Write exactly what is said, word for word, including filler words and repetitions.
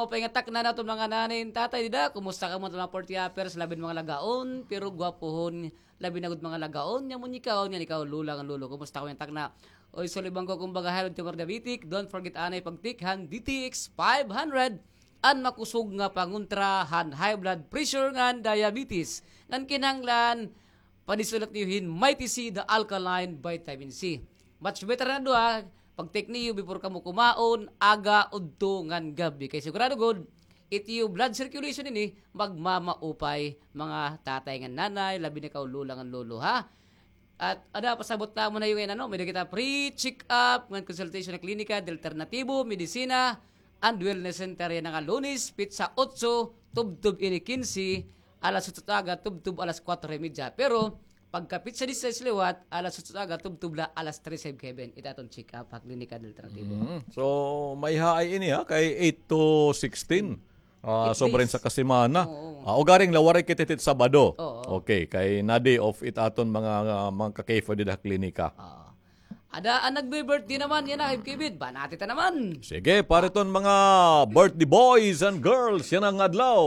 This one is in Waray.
Maupay nga takna naton mga nanay and tatay dida. Kumusta kamo mga forty uppers, labi na mga lagaon, pero gwapohon, labi na gud mga lagaon, nga munyikaon, nga ikaw, lola ngan lolo. Kumusta kamo nga takna? Oy, sulibang ko, kumbaga, high blood, tumor, diabetic, don't forget anay pag-take han D T X five hundred, an makusog nga pangontra han high blood pressure ngan diabetes. Ngan kinahanglan, padisulat niyo hin Mighty C, the alkaline vitamin C. Much better na duha, pag-take niyo before kamo kumaon, aga, udto, ngan gab-i. Kay sigurado gud, it iyo blood circulation ini, magmamaupay, mga tatay ngan nanay, labi na kaw lola ngan lolo, ha? At ada, pasabot namon ha iyo ngay-an, ano, may-ada kita free check-up ngan consultation ha klinika, alternatibo, medisina, and wellness center yana nga Lunes, petsa otso, tubtob ini kinse, alas otso ta aga, tubtob alas kuwatro y medya. Pero pagka petsa disisais liwat, alas otso ta aga, tubtob la alas tres ha gab-i. It aton check-up ha Klinika Alternatibo. Mm. So, maiha ay ini, ha, kay eight to sixteen. Ah, sobra ini sa kasimana. Oo. Ah, ugaring la waray kita hit Sabado. Oo. Okay, kay na-day off it aton mga, ah, mga ka-K F O dida ha klinika. Oo. Ada an nagbi-birthday naman yana, Kevin. Banati ta naman. Sige, para iton mga birthday boys and girls yana nga adlaw.